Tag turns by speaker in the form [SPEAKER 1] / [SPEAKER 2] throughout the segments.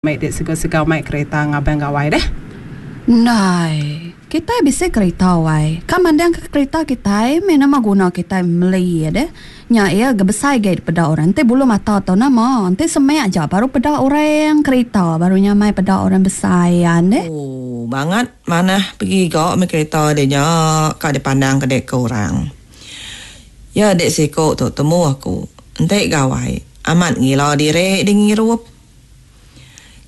[SPEAKER 1] Mai dek segau-segau mai kereta ngabang gawai deh.
[SPEAKER 2] Ndai. Kitai bisi kerita wai. Ka mandang ke kerita kitai meh nama guna kitai meli iya deh. Nya iya ga besai agi dipeda orang. Enti bulu mata tau nama. Enti semak aja baru peda orang kerita baru nyamai peda orang besai an deh.
[SPEAKER 3] Oh bangat manah pegiga meh kerita deh nya ka dipandang ke dek ke orang. Ya dek siko tu temu aku enti gawai amat ngila diri deh ngirup.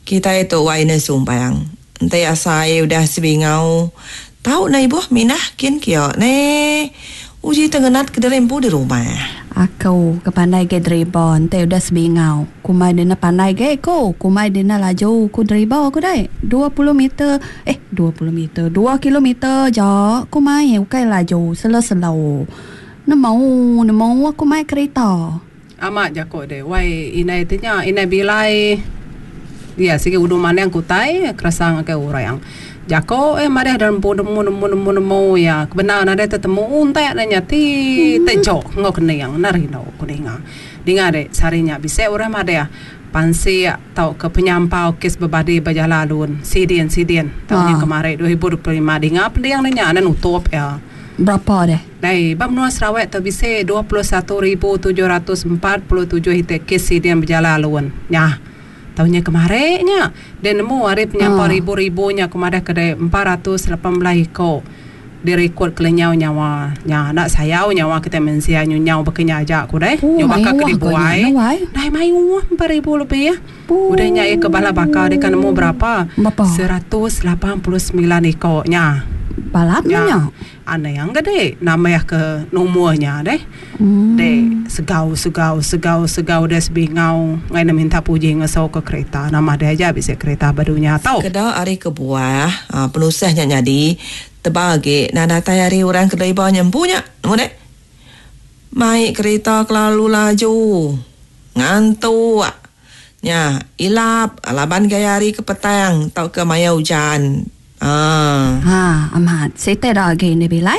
[SPEAKER 3] Kitai tu wai ne sumpang. Enti asai udah sebingau tau ne ibuh mindah kin kia ne. Uji te ngenat ke diri empu di rumah.
[SPEAKER 2] Aku ke pandai agi deriba enti udah sebingau. Kumbai dina pandai agi ku. Kumbai dina laju ku deriba ku dai. 20 meter eh 20 meter dua kilometer aja ku mai ukai laju selo-selo. Nemu nemu aku mai kerita.
[SPEAKER 1] Amat jako deh wai indai ti nya indai bilai iya sigi udu manding ke utai keresa ngagai orang. Jako eh madah da empu nemu nemu nemu nemu iya ke bendar nadai tetemu untak ne nya ti tejok enggau kening enda rindu ku ninga. Ninga deh sehari nya bisi orang madah pansik tauka penyampau kes bebadi ba jalai alun sidin sidin taun nya kemari 2025 dinga pending ne nya enda nutup iya.
[SPEAKER 2] Berapa deh?
[SPEAKER 1] Dai, ba menua Sarawak tu bisi 21,747 iti kes sidin bejalai alun. Nyah. Taun nya kemari nya, deh nemu ari penyampau ribu-ribu nya ku madah ke deh 418 iko dirikod kelenyau nyawa. Nya, enda sayau nyawa kitai mensia nyu nyau baka nya aja ku deh. Nyu baka ke dibuai. Dai mayuh 4000 lebih. Udah nya iya ke bala baka deka nemu berapa? 189 iko nya.
[SPEAKER 2] Balat meh nya.
[SPEAKER 1] Anang ga dek nambah ke numur nya deh. Dek segau segau segau segau deh sebingau ngai ne minta puji ngeso ke kereta nama deh aja bisi kereta ba dunya tu.
[SPEAKER 3] Sekeda ari kebuah penusah nya nyadi tebal agi enda datai ari orang ke deriba nya empu nya nemu dek. Mai kereta kelalu laju ngantuk nya ilap laban gaya hari ke petang tauka maya ujan. Haa.
[SPEAKER 2] Ha, amat. Siti da agi indi bilai.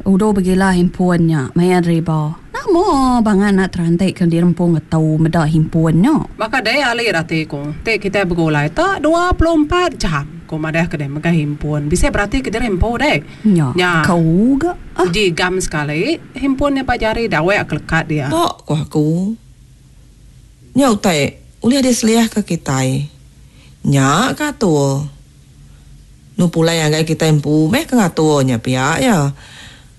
[SPEAKER 2] Udu begila himpun nya maya deriba. Nama bangat enda teranti ke dirempu ngetu meda himpun nya.
[SPEAKER 1] Baka dei ali rati ku ti kitai begulai tak 24 jam ku madah ke dei megai himpun. Bisi berati ke diri empu dei.
[SPEAKER 2] Nya.
[SPEAKER 1] Nya.
[SPEAKER 2] Kau ga.
[SPEAKER 1] Uji gam sekali himpun nya ba jari dawek ke lekat dia.
[SPEAKER 3] Ba ku aku. Nya utai ulih diseliahka kitai. Nya ke atur. Nu pulai ngagai kitai empu meh ke ngatur nya pia iya.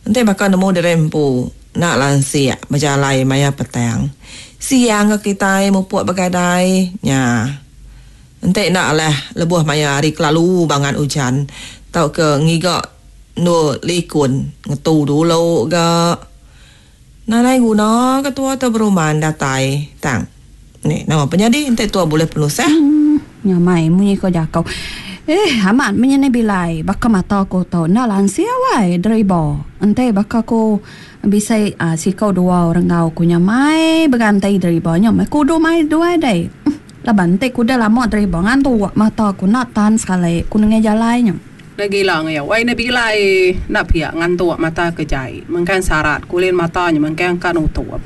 [SPEAKER 3] Enti baka nemu diri empu enda lansik bejalai maya petang. Siang ke kitai mupuk begadai nya. Enti enda alah lebuh maya hari kelalu bangat ujan tauka ngiga endur likun ngetu dulu ga. Nadai guna ke tua tu beruman datai tang ni nama penyadi enti tua bulih penusah.
[SPEAKER 2] Nyamai munyi ko jako. Eh amat meh nyadi bilai baka mata ku tu enda lansia wai deriba enti baka ku bisi siko dua orang enggau ku nyamai beganti deriba nya meh ku udu mai duai deh. Laban enti ku udah lama deriba ngantuk mata ku enda tan sekali ku nengah jalai nya.
[SPEAKER 1] Enda gila enggau iya. Wai enda bilai enda pia ngantuk mata ke jai. Mengkang sarat kulin mata nya mengkang ka nutup.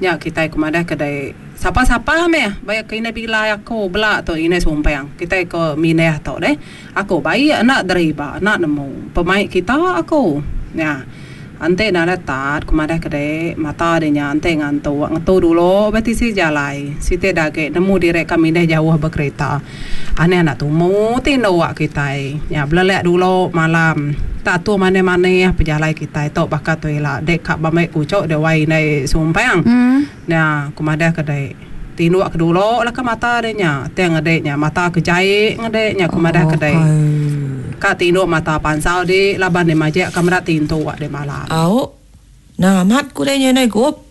[SPEAKER 1] Nya kitai ke madah ke dei sapa-sapa meh ba ke indai bilai aku bela tu indai sumpang kitai ke mindah tu deh. Aku baik enda deriba enda nemu pemai kita aku. Nya. Enti nadai tat ku madah ke dei mata deh nya enti ngantuk ngetu dulu ba tisi jalai siti da agi nemu diri ka mindah jauh ba kereta. Anih anak tumu ti enda wak kitai nya belelak dulu malam tak atur manih manih pejalai kitai tu baka tu ila dek ka ba mei kuchok dek wai indai sumpang nya ku madah ke dek tinduk ke dulu lah ka mata dek nya ti ngedek nya mata ke jai ngedek nya ku madah ke dek ka tinduk mata pansau di laban dek majak ka meda tintuk dek malam.
[SPEAKER 3] Au nang amat ku dek nya indai gup.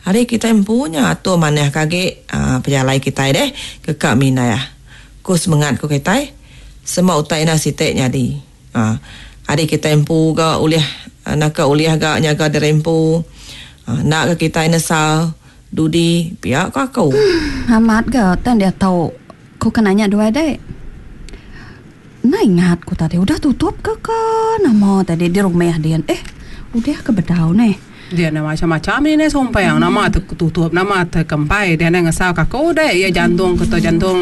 [SPEAKER 3] Hari kitai empu nya atur manah ke agi pejalai kitai deh ke ka mindah. Ku semengat ku kitai sema utai enda siti nyadi. Hari kitai empu ga ulih naka ulih ga nyaga diri empu enda ga kitai nesal dudi pia ku aku.
[SPEAKER 2] Amat ga tang diatu ku ke nanya duai deh. Enda ingat ku tadi udah tutup ke ka nama tadi di rumah din eh udah ke bedau neh.
[SPEAKER 1] Dia enda macam-macam ini sumpang nama te tutup nama te kempai dia enda ngesal ka aku deh iya jantung ke tu jantung.